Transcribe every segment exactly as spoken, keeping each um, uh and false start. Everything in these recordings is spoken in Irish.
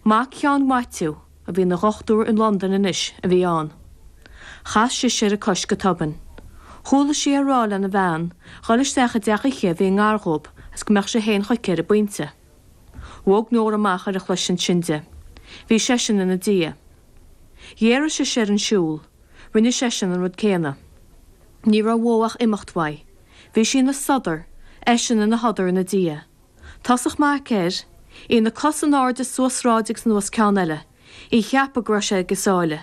Mac Sheáin Mhaitiú, a bhí ina dhochtúir in Londain anois, a bhí ann. Chas sise ar a cois go tobann. Chuala sí é ag rá lena bhean dhul isteach i dteach aici a bhí i ngar dhóibh agus go mbeadh sé féin chuici ar an bpointe. Bhog Nóra amach ar a chloisint sin di. Bhí seisean ina diaidh. Ghéaraigh sise ar an siúl, rinne seisean an rud céanna. Ní raibh uaidh ach imeacht uaidh. Bhí sí ina sodar, eisean ina shodar ina diaidh. Tosach maith aici air, í ina cos in airde suas sráid agus anuas ceann eile, í ag ceapadh go raibh sé ag a sáile.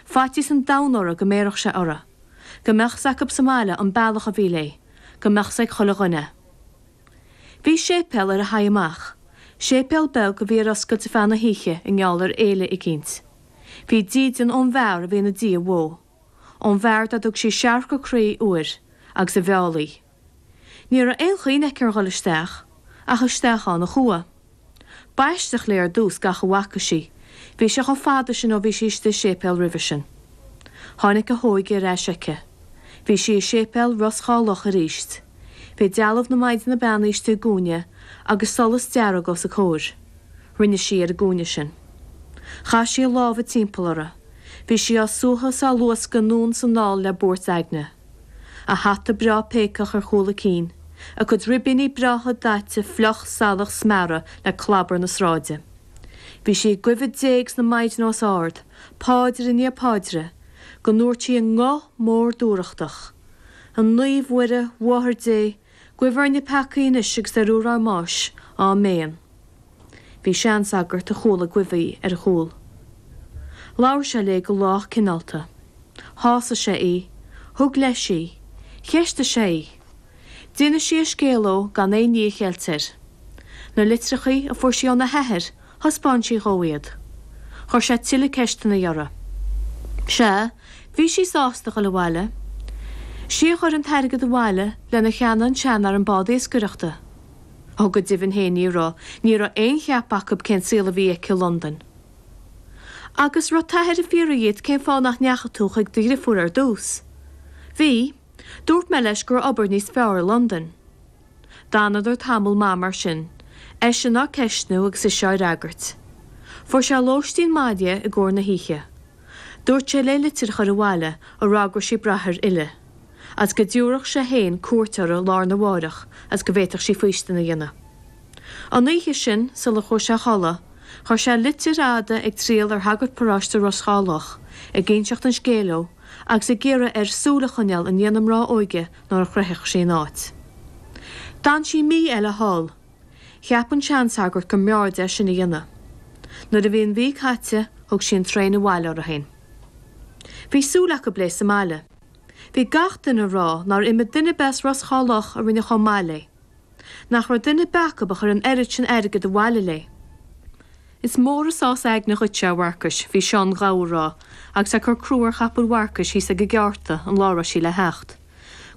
Faitíos an domhain uirthi go mbéarfadh sé uirthi. Go mbeadh 's acu sa mbaile an bealach a bhí léi, go mbeadh 's ag chuile dhuine. Bhí séipéal ar a haghaidh amach, séipéal beag a bhí ar oscailt ar feadh na hoíche i ngeall ar fhéile eicínt. Bhí dídean ón bhfear a bhí ina diaidh uaidh, ón bhfear dá dtug sí searc a croí uair agus a mheall í. Ní raibh aon chuimhne aici ar dhul isteach, ach isteach ann a chuaigh. B'aisteach léi ar dtús gach a bhfaca sí, bhí sé chomh fada sin ó bhí sí istigh i séipéal roimhe sin. Tháinig a hóige ar ais aici. Bhí sí i séipéal Ros Dhá Loch arís. Bhí dealbh na Maighdine Beannaithe istigh i gcúinne agus solas dearg os a comhair. Rinne sí ar an gcúinne sin. Chaith sí a lámha timpeall uirthi. Bhí sí á suathadh is á luascadh anonn is anall le buairt aigne. A hata breá péacach ar chúl a cinn, a cuid ribíní breátha daite fliuch salach smeartha le clábar na sráide. Bhí sí ag guibhe Dé agus na Maighdine os ard, páidir i ndiaidh páidre, go ndúirt sí i nguth mór dúthrachtach, A Naomh-Mhuire, Mháthair Dé, guibh orainne peacaí anois agus ar uair ár mbáis. Áiméan. Bhí seansagart a chuala ag guibhe í ar a chúl. Labhair sé léi go lách cineálta. Shásaigh sé í. Thug leis í. Cheistigh sé í. D'inis sí a scéal dhó gan aon ní a cheilt air. Na litreachaí a fuair sí óna hathair, thaispeáin sí dhó iad. Chuir sé tuilleadh ceisteanna uirthi. Sea, bhí sí sásta dhul abhaile. Sí a chuir an t-airgead abhaile lenar cheannaigh an seanfhear an bád iascaireachta. Ó go deimhin féin ní raibh, ní raibh aon cheap acu cén saol a bhí aici i Londain. Agus raibh t'athair ag fiafraí dhíot cén fáth nach ndeachaigh tú chuig do dhriofúr ar dtús? Bhí. Dúirt mé leis go raibh obair níos fearr i Londain. D'fhanadar tamall maith mar sin, eisean á ceistniú agus ise á fhreagairt. Fuair sé lóistín maith di i gcomhair na hoíche. Dúirt sé léi litir a chur abhaile a rá go raibh sí ag brath air fhilleadh, agus go dtabharfadh sé féin cuairt uirthi lá arna mháireach agus go bhféadfadh sí faoistin a dhéanamh. An oíche sin, sula chuaigh sé a chodladh, chuir sé litir fhada ag triall ar shagart paróiste Ros Dhá Loch, ag inseacht an scéil dhó agus ag iarraidh air súil a choinneáil i ndiaidh na mná óige nuair a shroichfeadh sí an áit. D'fhan sí mí eile thall. Cheap an seansagart go mb'fhearr di é sin a dhéanamh. Nuair a bhí an mhí caite, thug sí an traein abhaile uirthi féin. Bhí súil acu léi sa mbaile. Bhí gach duine ag rá nár imigh duine ar bith as Ros Dhá Loch a rinne chomh maith léi. Nach raibh duine ar bith acu a chuir an oiread sin airgid abhaile léi. Is mór an sás aigne dhuitse, a Mharcais, bhí Seán Gabha ag rá agus é ag cur crú ar chapall Mharcais thíos ag an gceárta an lá a raibh sí le theacht,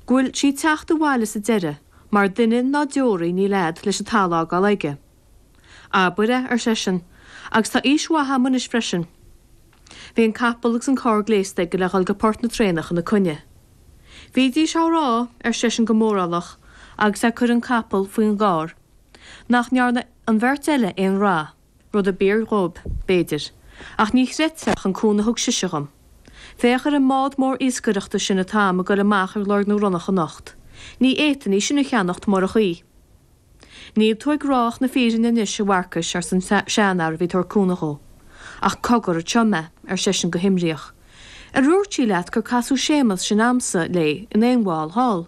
go bhfuil sí ag teacht abhaile sa deireadh, mar duine ná deoraí níl fhad leis an talamh a fhágáil aige. Abair é, ar seisean, agus tá aois mhaith a'm anois freisin. Bhí an capall agus an carr gléasta aige le dhul go port na traenach ina coinne. Bhídís á rá, ar seisean go mórálach agus é ag cur an capall faoin gcarr, nach ndearna an bheirt eile aon rath, rud ab fhíor dhóibh, b'fhéidir, ach ní chreidfeá an cúnamh a thug sise dhom. Féach ar an mbád mór iascaireachta sin atá a'm ag goil amach ar lorg na ronnach anocht. Ní fhéadfainn í sin a cheannacht murach í. Níl tú ag rá ach na fírinne anois, a Mharcais, arsa an seanfhear a bhí ag tabhairt cúnamh dhó. Ach cogar anseo mé, ar seisean go himríoch. Ar dhúirt sí leat gur casadh Séamas sin a'msa léi in aon bhall thall?